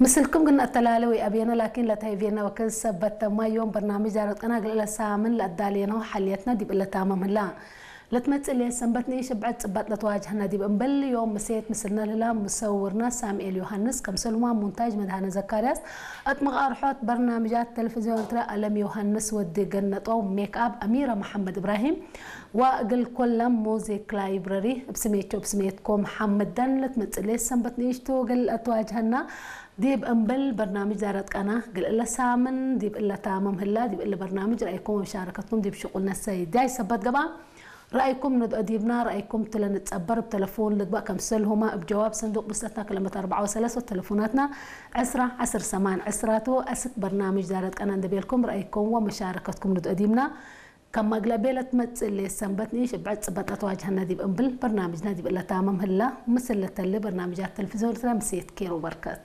ምስልኩም ግን ኣተላለ ወይ ኣቤነ ላኪን ለታይ ቬና ወከን ሰበት ተማዮም በርናምጅ ዳረት ቀና ግልለ ሳምን ለኣዳሌነው ሓልየትና ዲብ እለታመም ህላ። ለትመጽእ ሌት ሰንበት ንኢሽ ብዕድ ጽባጥ ለተዋጅህና ዲብ እምበል ዮም ምሴት ምስልና ልላ ምሰውርና ሳምኤል ዮሃንስ ከም ሰልማ ሙንታጅ መድሃነ ዘካርያስ ኣጥመቕ ኣርሖት በርናምጃት ቴሌቪዝዮን ኤርትራ ኣለም ዮሃንስ ወዲ ገነጦ ሜክኣብ ኣሚራ መሓመድ እብራሂም ወእግል ኮለም ሙዚክ ላይብረሪ እብ ስሜቾ እብ ስሜትኮም ሓመዳን ለትመጽእ ሌት ሰንበት ንኢሽቱ ግል ኣተዋጅህና ዲብ እምብል በርናምጅ ዳረት ቀና ግል እለ ሳምን ዲብ እለ ታመም ህላ ዲብ እለ በርናምጅ ረኣይኩም ወመሻረከትኩም ዲብ ሽቁል ነሰይ ዳይ ሰበት ገባ ረኣይኩም ንድኦ ዲብና ረኣይኩም ትለ ንጸበር ብተለፎን ልግባእ ከምሰል ሁማ እብ ጀዋብ ሰንዱቅ ብስተትና ክለመት ኣርባዓ ወሰለስተ ተለፎናትና ዕስራ ዓስር ሰማን ዕስራቱ ኣስክ በርናምጅ ዳረት ቀና እንደቤልኩም ረኣይኩም ወመሻረከትኩም ንድኦ ዲብና ከም ማግላ ቤለት መጽእ ሌት ሰንበት ንኢሽ እብ ዕድ ጽበጣት ዋጅህና ዲብ እምብል በርናምጅና ዲብ እለ ታመም ህላ ምስል ለተሊ በርናምጃት ተለቪዝዮን ኤርትራ ምሴት ኬሮ በርከት።